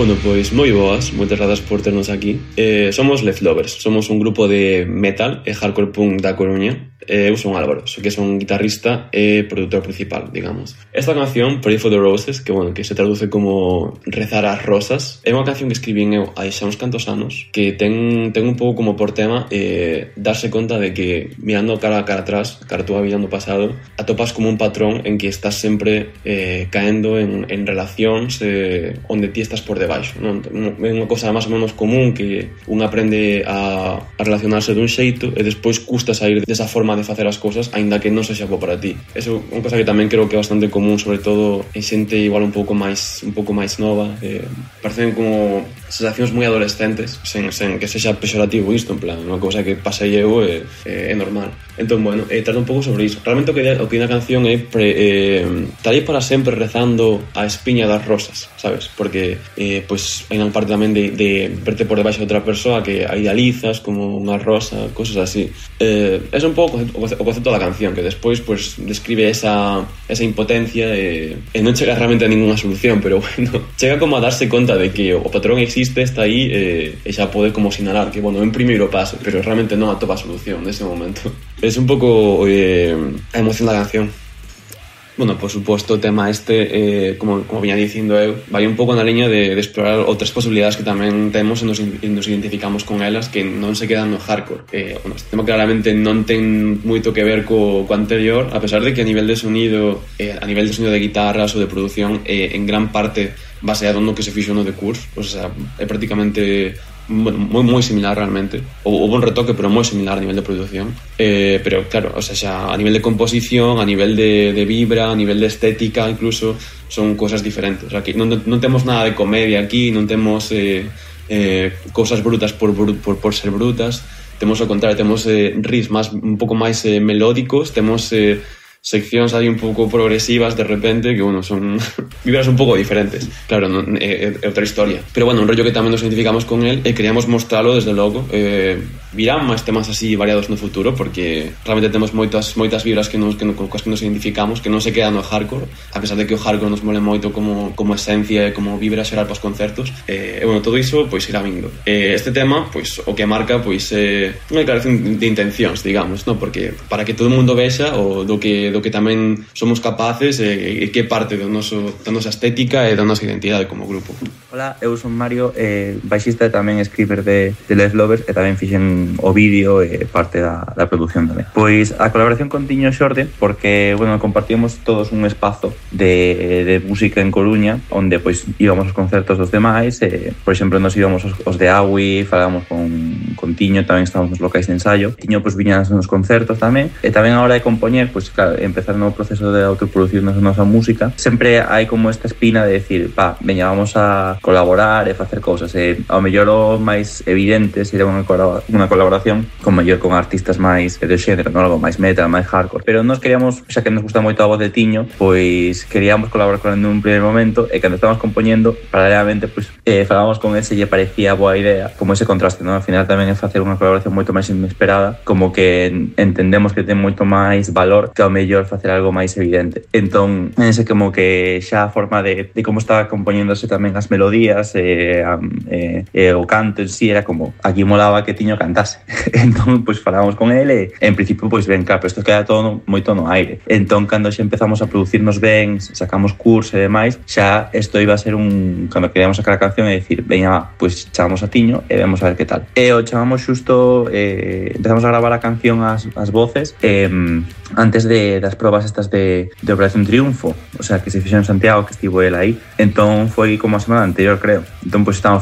Bueno, pois moi boas, moitas grazas por ternos aquí. Somos Leftovers, somos un grupo de metal e hardcore punk da Coruña. Eu son Álvaro, que son guitarrista e produtor principal, digamos. Esta canción, Pray for the Roses, que se traduce como rezar ás rosas, é unha canción que escribín eu hai xa uns cantos anos, que ten un pouco como por tema darse conta de que mirando cara atrás, cara a túa vida no pasado, atopas como un patrón en que estás sempre caendo en relacións onde ti estás por debaixo, non? É unha cosa máis ou menos común que un aprende a relacionarse dun xeito e despois custa sair desa forma de facer as cousas, aínda que non sexa bo para ti. Eso é unha cosa que tamén creo que é bastante común, sobre todo en xente igual un pouco máis nova. Parecen como sensacións moi adolescentes, sen que sexa pexorativo isto, en plan, unha cousa que pasei eu é normal. Entón, bueno, trata un pouco sobre iso. Realmente o que na canción é estarei para sempre rezando a espiña das rosas, sabes? Porque pois hai unha parte tamén de verte por debaixo de outra persoa que a idealizas como unha rosa, cosas así. É un pouco o concepto da canción, que despois pues, describe esa impotencia e non chega realmente a ninguna solución, pero bueno, chega como a darse conta de que o patrón existe, está aí e xa pode como sinalar que, bueno, é un primeiro paso, pero realmente non atopa a solución nese momento. É un pouco a emoción da canción. Bueno, por suposto, o tema como viña dicindo eu, vai un pouco na liña de explorar outras posibilidades que tamén temos e nos identificamos con elas, que non se quedan no hardcore. Este tema claramente non ten moito que ver co anterior, a pesar de que a nivel de sonido de guitarras ou de producción, en gran parte baseado no que se fixo no The Curse, o sea, é prácticamente moi similar realmente. Houve un retoque, pero moi similar a nivel de producción, pero claro, o sea, xa a nivel de composición, a nivel de vibra, a nivel de estética, incluso son cosas diferentes. O sea, aquí non temos nada de comedia aquí, non temos cousas brutas por ser brutas. Temos ao contrario, temos riffs un pouco máis melódicos, temos seccións aí un pouco progresivas de repente, que, bueno, son vibras un pouco diferentes. Claro, é outra historia. Pero, bueno, un rollo que tamén nos identificamos con él e queríamos mostralo, desde logo. Virán máis temas así variados no futuro, porque realmente temos moitas vibras que nos identificamos, que non se quedan no hardcore, a pesar de que o hardcore nos mole moito como esencia e como vibra xeral para os concertos. E, bueno, todo iso, pois, irá vindo. Este tema, pois, o que marca, pois, unha declaración de intencións, digamos, ¿no? Porque para que todo o mundo vexa o do que tamén somos capaces e que parte da nosa estética e da nosa identidade como grupo. Hola, eu son Mario, baixista e tamén escriber de Leftovers, e tamén fixen o vídeo e parte da producción tamén. Pois a colaboración con Tiño Xorde, porque, bueno, compartimos todos un espazo de música en Coruña, onde pois íbamos aos concertos dos demais, por exemplo, nos íbamos os de Aui, falábamos con Tiño, tamén estábamos nos locais de ensayo. Tiño pois viña nos concertos tamén, e tamén a hora de compoñer, pois claro, empezar no proceso de autoproducir nosa música, sempre hai como esta espina de decir, veña, vamos a colaborar e facer cousas, e ao mellor o máis evidente sería unha colaboración con artistas máis de xénero, non? Algo máis metal, máis hardcore, pero nós queríamos, xa que nos gusta moito a voz de Tiño, pois queríamos colaborar con ele nun primeiro momento, e cando estábamos compoñendo, paralelamente, pois falábamos con ele se lle parecía boa idea, como ese contraste, non? Al final tamén é facer unha colaboración moito máis inesperada, como que entendemos que ten moito máis valor que ao mellor facer algo máis evidente. Entón, ese como que xa a forma de como estaba compoñéndose tamén as melodías e o canto en sí era como, aquí molaba que Tiño cantase. Entón, pois falábamos con ele e en principio, pois ben, claro, isto queda todo moito no aire. Entón, cando xa empezamos a producirnos ben, sacamos curso e demais, xa isto iba a ser cando queríamos sacar a canción e dicir, veña, pois chamamos a Tiño e vemos a ver que tal. E o chamamos xusto, empezamos a gravar a canción as voces antes das probas estas de Operación Triunfo, o sea, que se fixeron en Santiago, que estivo el aí. Entón foi como a semana anterior, creo. Entón, pois, estábamos